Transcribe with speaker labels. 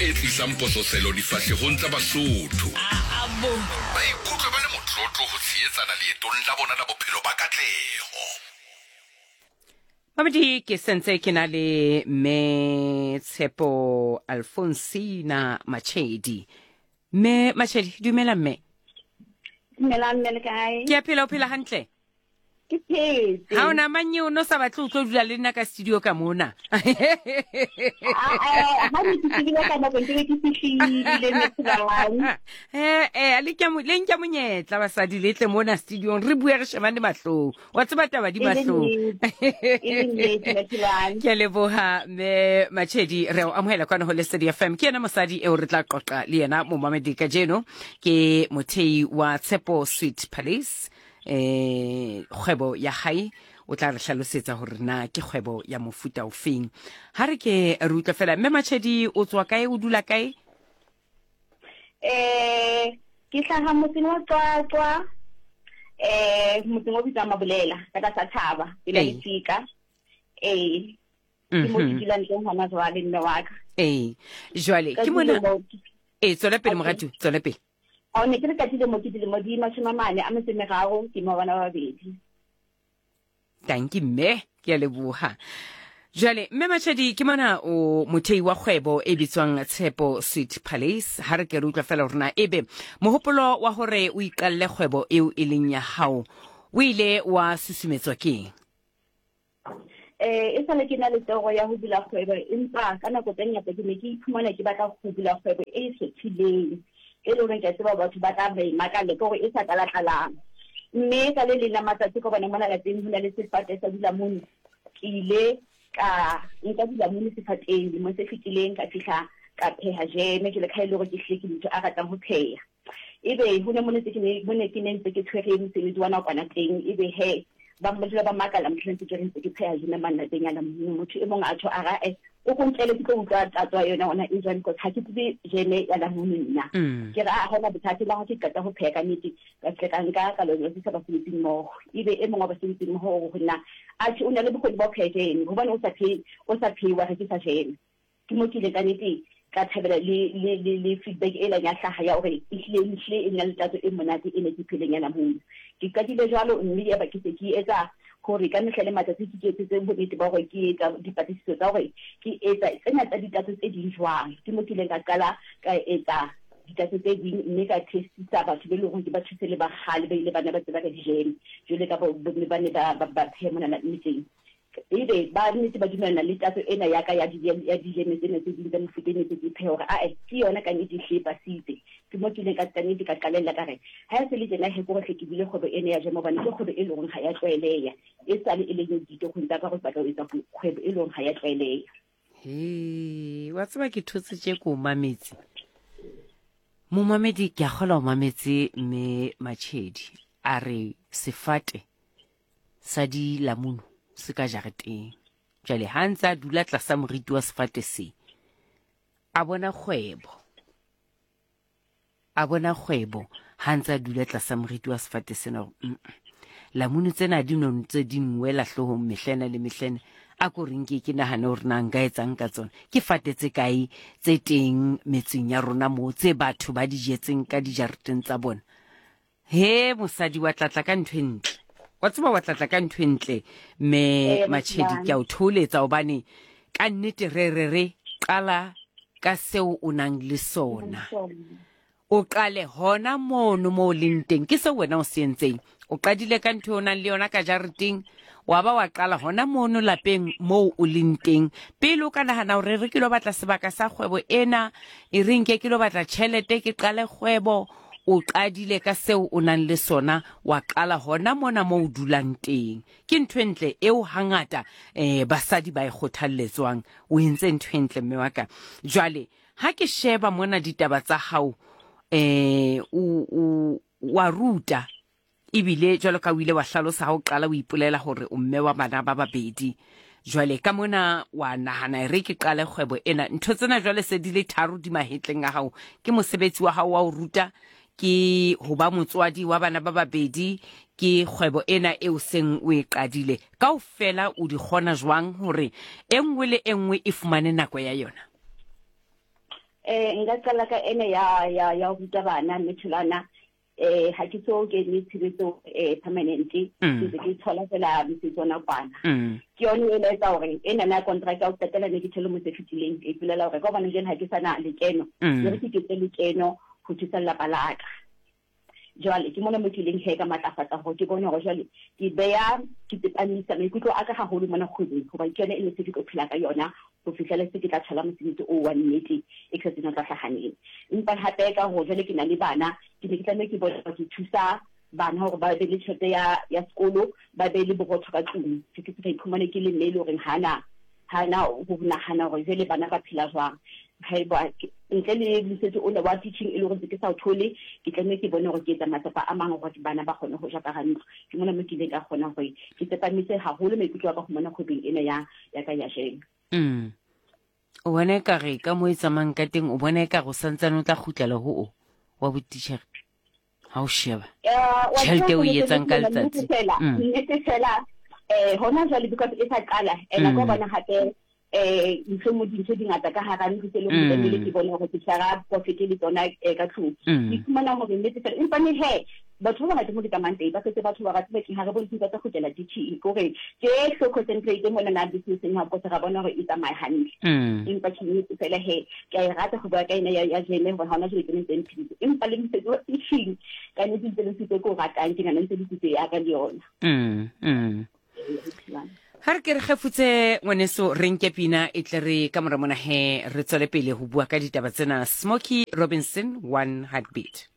Speaker 1: e tlisang pososelo difahlehong tsa Basotho. Ba ikutlwa ba le motlotlo ho tshehetsana leetong la bona la bophelo ba katleho.
Speaker 2: Mamedi ke sentse ke na le mme Tshepo Alfonsina Machedi. Mme Machedi, dumela mme.
Speaker 3: Dumela mme le kae?
Speaker 2: Ke a phela o phela hantle?
Speaker 3: Ke phetse.
Speaker 2: Ha ona manye o no sa batle o tlo dula le nna ka studio ka mona.
Speaker 3: Ha ne ke tsebile ka nako ke be ke fihlile mme
Speaker 2: Eh eh le ke mo le nka monyetla basadi le tle mona studiong re bue re shebane mahlong. Wa tseba taba di mahlong. Ke a leboha mme Machedi re o amohela kwana ho Lesedi FM. Ke yena mosadi eo re tla qoqa le yena momamedi kajeno ke mothei wa Tshepo Sweet Palace. eh kgwebo ya hae o tla re hlalosetsa gore na ke kgwebo ya mofuta o feng ha re ke re utlwe fela mme Machedi o tswa kae o dula kae
Speaker 3: eh ke hlaha motseng wa Qwaqwa eh motseng o bitswang Mabolela ka tlasa thaba pela lefika ee ke mo ke mhm. dulang teng hona jwale mme wa ka
Speaker 2: ee jwale ke mona ee tswela pele moratu tswela pele
Speaker 3: Ao ne ke re ka dilemo ke dilemo di 44 a metso e meraro, ke mo bana ba babedi.
Speaker 2: Tanki mme, ke a leboha. Jwale mme Machadi ke mona o mothei wa kgwebo e bitswang Tshepo Sweet Palace. Ha re ke re utlwa fela hore na ebe mohopolo wa hore o iqalle kgwebo eo e leng ya hao o ile wa susumetswa keng?
Speaker 3: Eh, e sale ke na le toro ya ho bula kgwebo, empa ka nako tse ngata ke ne ke iphumana ke batla ho bula kgwebo e ikgethileng, e leng hore ke a tseba batho ba tla ba e makalle, ke hore e sa tlala-tlalang. Mme ka le leng la matsatsi ka bona mona lapeng ho na le sefate sa dilamunu, ke ile ka nka dilamunu sefateng lemong se fetileng, ka fihla ka pheha jeme, jwale ka ha e le hore ke hlile ke motho a ratang ho pheha. Ebe ho ne mo ntse ke ne mo ne ke ne ntse ke tshwere mosebetsi wa nakwana teng, ebe he ba dula ba makala mohlang ntse ke re ntse ke pheha jeme mane lapeng ya motho e mong a tjho a ra eh o ko ntlele ke tlo utlwa tatso ya yona ona e jwang because ha ke tsebe jeme ya lamunu nna. Ke re a hona bothata le ha ke qeta ho pheha ka nnete ka tle ka nka ka lo jwetsisa basebetsing mmoho. Ebe e mong wa basebetsing mmoho o re ho nna atjhe o na le bokgoni ba ho pheha jeme hobane o sa phehe o sa phehe wa rekisa jeme. Ke mo ke ileng ka nete ka thabela le, le, le, le feedback e leng ya hlaha ya hore ehlile, ehlile e nna le tatso e monate e ne ke pheleng ya namunu. Ke qadile jwalo mme yaba ke se ke etsa hore ka mehla le matsatsi ke iketsetse bonnete ba hore ke etsa dipatlisiso tsa hore ke etsa tsena tsa ditatso tse ding jwang. Ke mo ke ileng ka qala ka etsa ditatso tse ding mme ka testisa batho be leng hore ke ba thuse le ba kgale ba ile ba ne ba tseba ka dijeme jwale ka bo bomme ba ne ba, ba, ba pheha mona metseng. Ebe ba nnete ba dumellana le tatso ena ya ka ya ya dijeme tsena tse ding tsa mefuta e ne tse ke pheha hore ae ke yona ka nnete ehlile e pasitse. Ke mo ke ileng ka ka nnete ka qalella ka re ha e se le tjena he kore hle ke bule kgwebo ena ya jeme hobane ke kgwebo e leng hore ha ya tlwaeleha. E sale e le ditorong tsa ka hore ke batla ho etsa kgwebo e leng hore ha ya tlwaeleha.
Speaker 2: He, wa tseba ke thotse tše ko mametse. Momamedi ke a kgola o mametse mme Machedi a re sefate sa dilamunu se ka jareteng. Jwale ha ntse a dula tlasa moriti wa sefate se, a bona kgwebo. A bona kgwebo ha ntse a dula tlasa moriti wa sefate sena hore mm lamunu tsena di no ntse di nwela hloohong mehlena le mehlena a ko reng ke ke nahane hore na nka etsang ka tsona ke fate tse kae tse teng metseng ya rona moo tse batho ba di jetseng ka dijareteng tsa bona He mosadi wa tlatla ka ntho e ntle. Wa tseba wa tlatla ka ntho e ntle me
Speaker 3: Ee,
Speaker 2: Machedi ke a o thoholetsa hobane ka nnete re re re qala ka seo o nang le sona. O qale hona mono mo o leng teng ke seo wena o se entseng. O qadile ka ntho e o nang le yona ka jareteng wa ba wa qala hona mono lapeng moo o leng teng. Pele o ka nahana hore re ke lo batla sebaka sa kgwebo ena, e re nke ke lo batla tjhelete ke qale kgwebo, O qadile ka seo o nang le sona, wa qala hona mona moo o dulang teng. Ke ntho e ntle eo hangata eh, basadi ba e kgothalletswang. O entse ntho e ntle mme wa ka. Jwale ha ke sheba mona ditaba tsa hao eh, o, o, wa ruta Ebile jwalo ka o ile wa hlalosa ha o qala o ipolela hore o mme wa bana ba babedi. Jwale ka mona wa nahana e re ke qale kgwebo ena. Ntho tsena jwale se di le tharo di mahetleng a hao. Ke mosebetsi wa hao wa ho ruta, ke ho ba motswadi wa bana ba babedi, ke kgwebo ena eo seng o e qadile. Kaofela o di kgona jwang hore e nngwe le e nngwe e fumane nako ya yona?
Speaker 3: Eh nka qala ka ene ya ya ya ho ruta bana mme tholwana eh ha ke so kene tshebetso eh permanent ke mm. ntse ke thola fela mosebetsi ona kwana mm. ke yone e laetsa hore ena na contract ya ho qetela ne ke thole motse fetileng ke ipolela hore ka hobane jwale ha ke sana lekeno mm. le re ke ketse lekeno ho thusa lelapa la ka Jwale ke mona mo ke ileng he ka matlafatsa hore ke bone hore jwale ke beya ke tsepamisa maikutlo a ka haholo mona kgwebong hobane ke yone e ne se ke tlo phela ka yona ho fihlela se ke tla thola mosebetsi oo wa nnete e ke sa tsebeng o tla hlaha neng. Empa hape ka hore jwale ke na le bana ke ne ke tlameha ke bone hore ke thusa bana hore ba be le tjhelete ya ya sekolo ba be le borotho ka tlung se ke se ka iphumane ke le mme e le horeng hana ha na ho nahana hore jwale bana ba phela jwang. Haeba ntle le mosebetsi ona wa teaching e le hore ke sa o thole, ke tlameha ke bone hore ke etsa matsapa a mang hore bana ba kgone ho ja ka hara ntlo. Ke mona mo ke ileng ka kgona hore ke tsepamise haholo maikutlo a ka ho mona kgwebong ena ya ya ka ya jeme.
Speaker 2: Mm. O bona ekare ka mo e tsamayang ka teng, o bona ekare o santsane o tla kgutlela ho o wa botitjhere? Ha o sheba tjhelete o e etsang ka letsatsi.
Speaker 3: Mm. Nnete fela eh hona jwale because e sa qala ena ka bona hape eh ntho mo dintho di ngata ka hara ntlo tse leng hore tlamehile ke bone hore ke tshwara profit le tsona eh, ka tlung. Ke fumana hore nnete fela empa ne he batho ba bangata mo ke tsamayang teng ba setse batho ba rata bakeng ha re bone ba tla kgutlela teaching ke hore ke hlo concentrate mona na businesseng ha because ra bona hore e tsamaya hantle. Empa ke nnete fela he ke a e rata go bua ka ena ya ya jeme hore ha hona jwale ke ne ntse mpheditse empa le mosebetsi wa teaching ka nnete ntse le mosebetsi o ke o ratang ke nahana ntse le kitso ya ka le yona.
Speaker 2: Ha re ke re kgefutse ngwaneso re nke pina e tle re ka mora mona he re tswele pele ho bua ka ditaba tsena. Smokey Robinson, One Heartbeat.